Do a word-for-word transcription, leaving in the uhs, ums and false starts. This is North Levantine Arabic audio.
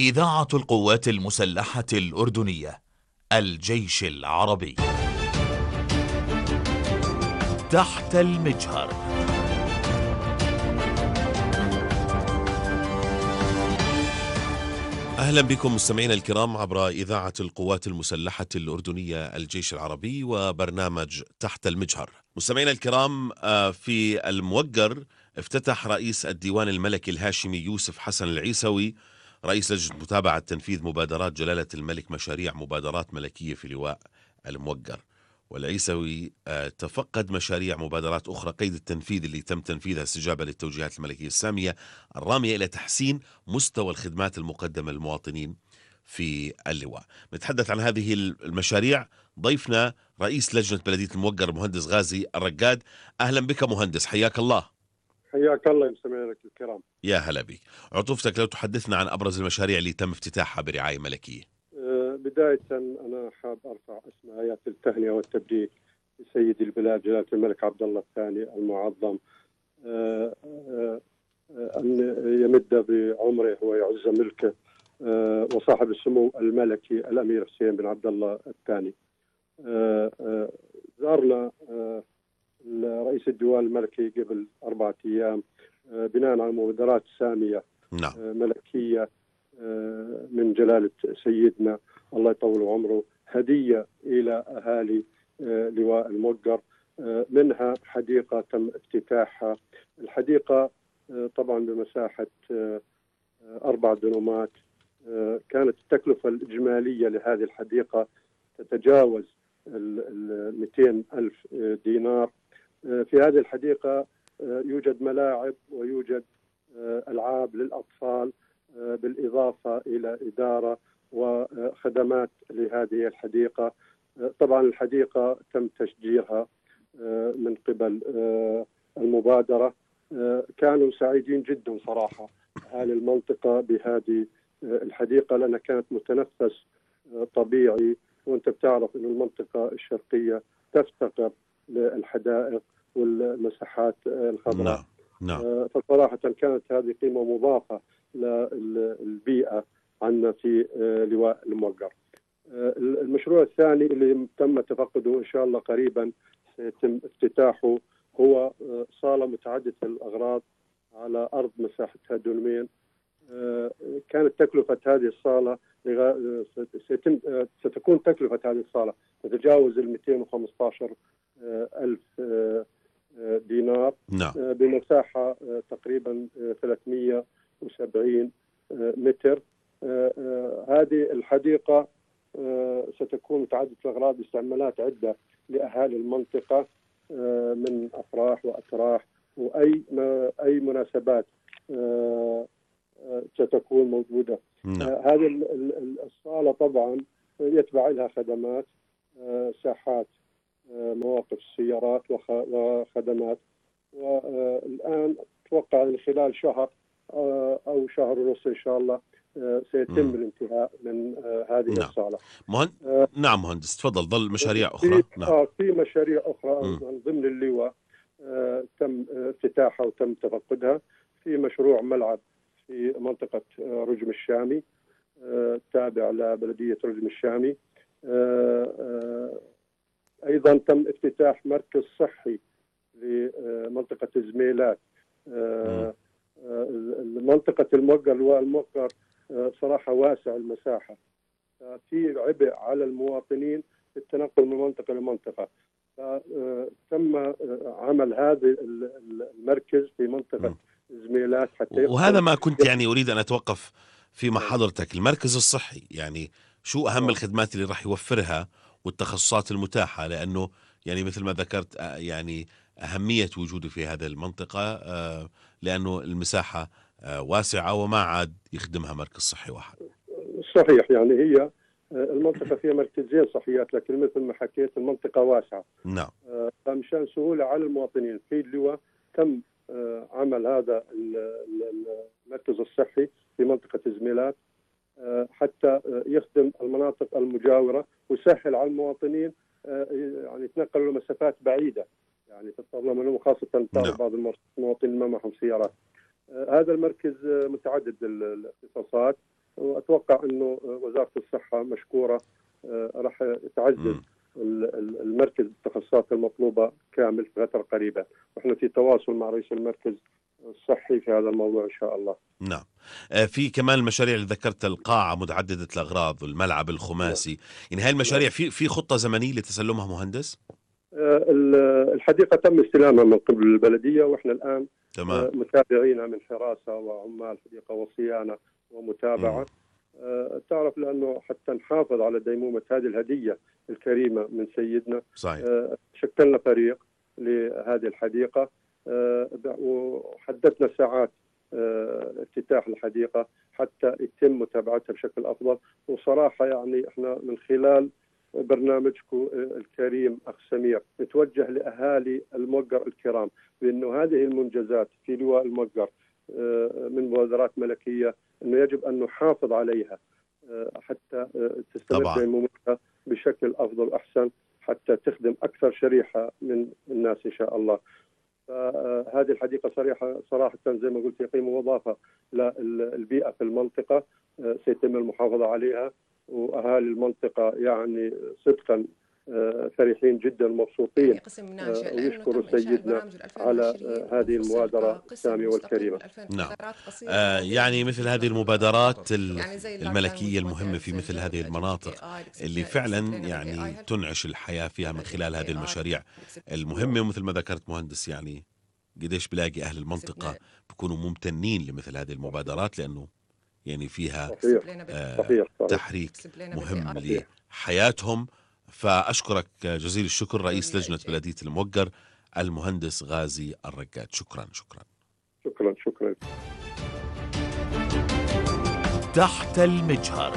إذاعة القوات المسلحة الأردنية الجيش العربي. تحت المجهر. أهلا بكم مستمعينا الكرام عبر إذاعة القوات المسلحة الأردنية الجيش العربي وبرنامج تحت المجهر. مستمعينا الكرام، في الموقر افتتح رئيس الديوان الملكي الهاشمي يوسف حسن العيسوي رئيس لجنة متابعة تنفيذ مبادرات جلالة الملك مشاريع مبادرات ملكية في لواء الموقر. والعيسوي تفقد مشاريع مبادرات أخرى قيد التنفيذ اللي تم تنفيذها استجابة للتوجيهات الملكية السامية الرامية إلى تحسين مستوى الخدمات المقدمة للمواطنين في اللواء. نتحدث عن هذه المشاريع ضيفنا رئيس لجنة بلدية الموقر مهندس غازي الرقاد. أهلا بك مهندس، حياك الله. حياك الله يا مستمعينا الكرام. يا هلا بك. عطوفتك لو تحدثنا عن أبرز المشاريع اللي تم افتتاحها برعاية ملكية. بداية أنا حاب أرفع أسمى آيات التهنئة والتبريك لسيد البلاد جلالة الملك عبد الله الثاني المعظم أن يمد بعمره ويعز ملكه، وصاحب السمو الملكي الأمير حسين بن عبد الله الثاني. زارنا رئيس الديوان الملكي قبل أربعة أيام بناء على مبادرات سامية نعم. ملكية من جلالة سيدنا الله يطول عمره، هدية إلى أهالي لواء الموقر، منها حديقة تم افتتاحها. الحديقة طبعا بمساحة أربع دنومات. كانت التكلفة الإجمالية لهذه الحديقة تتجاوز ال مئتين ألف دينار. في هذه الحديقة يوجد ملاعب ويوجد ألعاب للأطفال، بالإضافة إلى إدارة وخدمات لهذه الحديقة. طبعا الحديقة تم تشجيرها من قبل المبادرة. كانوا سعيدين جدا صراحة أهل المنطقة بهذه الحديقة، لأنها كانت متنفس طبيعي، وأنت بتعرف أن المنطقة الشرقية تفتقر للحدائق والمساحات الخضراء. نعم. نعم. فصراحة كانت هذه قيمة مضافة للبيئة عندنا في لواء الموقر. المشروع الثاني اللي تم تفقده إن شاء الله قريبا سيتم افتتاحه هو صالة متعددة الأغراض على أرض مساحتها دونمين. كانت تكلفة هذه الصالة سيتم ستكون تكلفة هذه الصالة تتجاوز ال مئتين وخمسة عشر ألف دينار. نعم. بمساحة تقريبا ثلاثمئة وسبعين متر. هذه الحديقة ستكون متعددة الأغراض باستعمالات عدة لأهالي المنطقة، من أفراح وأتراح وأي أي مناسبات ستكون موجودة. نعم. هذه الصالة طبعا يتبع لها خدمات، ساحات مواقف السيارات وخدمات. والآن أتوقع من خلال شهر أو شهر ونص إن شاء الله سيتم م. الانتهاء من هذه نعم. الصالة. مهند... آه نعم مهندس تفضل. ظل مشاريع أخرى. في, نعم. آه في مشاريع أخرى م. ضمن اللواء آه تم افتتاحها وتم تفقدها. في مشروع ملعب في منطقة آه رجم الشامي، آه تابع لبلدية رجم الشامي. آه آه أيضا تم افتتاح مركز صحي لمنطقة زميلات. آه منطقة الموقر لواء الموقر صراحة واسع المساحة، في عبء على المواطنين في التنقل من منطقة لمنطقة. فتم عمل هذا المركز في منطقة زميلات حتى وهذا ما كنت يعني أريد أن أتوقف في مع حضرتك. المركز الصحي يعني شو أهم أوه. الخدمات اللي راح يوفرها والتخصصات المتاحة، لأنه يعني مثل ما ذكرت يعني أهمية وجوده في هذه المنطقة لأنه المساحة واسعة وما عاد يخدمها مركز صحي واحد. صحيح، يعني هي المنطقة فيها مركزين صحيات، لكن مثل ما حكيت المنطقة واسعة. نعم. فمشان سهولة على المواطنين في اللواء تم عمل هذا المركز الصحي في منطقة زميلات حتى يخدم المناطق المجاورة ويسهل على المواطنين يعني يتنقلوا لمسافات بعيدة، يعني تتطلب منهم، خاصة تعرف بعض المواطنين ما معهم سيارات. هذا المركز متعدد الاختصاصات، وأتوقع أنه وزارة الصحة مشكورة، راح تعزز مم. المركز بالتخصصات المطلوبة كامل في فترة قريبة، ونحن في تواصل مع رئيس المركز الصحي في هذا الموضوع إن شاء الله. نعم. آه، في كمان المشاريع اللي ذكرت، القاعة متعددة الأغراض والملعب الخماسي، يعني هاي المشاريع في في خطة زمنية لتسلمها مهندس؟ آه، الحديقة تم استلامها من قبل البلدية، وإحنا الآن تمام. آه، متابعين من حراسة وعمال حديقة وصيانة ومتابعة. آه، تعرف لأنه حتى نحافظ على ديمومة هذه الهدية الكريمة من سيدنا، صحيح. آه، شكلنا فريق لهذه الحديقة، آه، وحددنا ساعات آه، افتتاح الحديقة حتى يتم متابعتها بشكل أفضل. وصراحة يعني إحنا من خلال برنامجكم الكريم أخ سمير نتوجه لأهالي الموقر الكرام بأنه هذه المنجزات في لواء الموقر من مبادرات ملكية، أنه يجب أن نحافظ عليها حتى تستمر ديمومتها بشكل أفضل وأحسن، حتى تخدم أكثر شريحة من الناس إن شاء الله. فهذه الحديقة صريحة صراحة زي ما قلت قيمة مضافة للبيئة في المنطقة، سيتم المحافظة عليها، وأهالي المنطقة يعني صدقا فرحين جدا ومبسوطين، ويشكروا سيدنا على هذه المبادرة السامية والكريمة. نعم. آه يعني مثل هذه المبادرات الملكية المهمة في مثل هذه المناطق اللي فعلا يعني تنعش الحياة فيها من خلال هذه المشاريع المهمة، ومثل ما ذكرت مهندس يعني قديش بلاقي أهل المنطقة بيكونوا ممتنين لمثل هذه المبادرات، لأنه يعني فيها آه صحيح. صحيح. تحريك مهم لحياتهم. فأشكرك جزيل الشكر رئيس لجنة بلدية الموقر المهندس غازي الرقاد. شكرا شكرا شكرا شكرا. تحت المجهر.